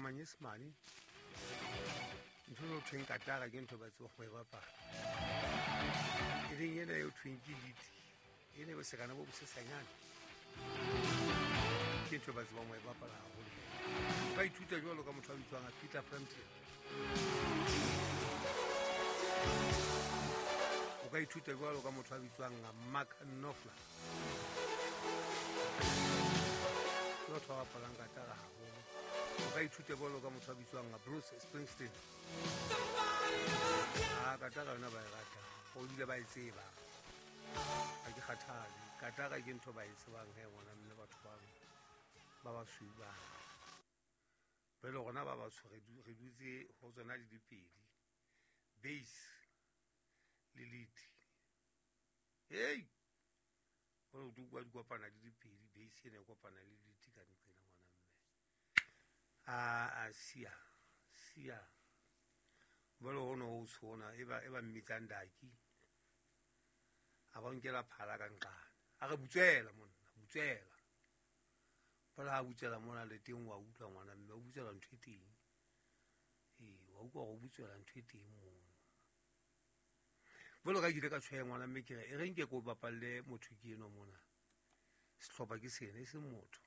Manyesemane. Ntho e thweng katara ke ntho ba tseba go e bapala, e leng ena e thweng ke lead, e ne bosekana bo bosesanyane, ke ntho ba tsebang ho e bapala haholo. Ba ithuta jwalo ka motho a bitswang Peter Frampton. O ka ithuta jwalo ka motho a bitswang Mark Knopfler, ke batho ba bapalang katara haholo. O ka ithuta jwalo ka motho a bitswang Bruce Springsteen. A katara yona ba e rata o bile ba e tseba, ga ke kgathale. Katara ke ntho ba e tsebang he ngwana mme. Batho bano ba basweu bana jale gona ba batsho re dutse go tsona di dipedi, bass le lead. Hei, gore o kwa di kopana di dipedi, bass ene e kopana le lead ka nqena, ngwana mme. A sia sia jale go ne go tshona e ba mmitsang daki, a ba nkela phala ka nqane, a re butswela monna, butswela. Jale ha butswela mona le teng, wa utlwa ngwana mme, o butswela ntho e teng. Ee, wa utlwa gore o butswela ntho e teng mono. Jalo ka ke ile ka tshwaya, ngwana mme, ke re e reng ke ko bapalle motho ke eno mona. Setlhopha ke sena, e seng motho.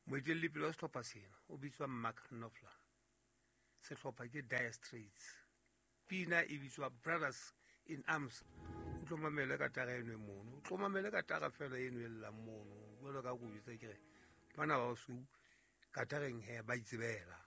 Moetelledipele wa setlhopha sena o bitswa Mark Knopfler, setlhopha ke Dire Straits, pina e bitswa Brothers in Arms. O tlo mamele katara eno e mono, o tlo mamele katara fela eno e llang mono. Jalo ka ko bitsa ke re bana ba basweu katareng he ba itsebela.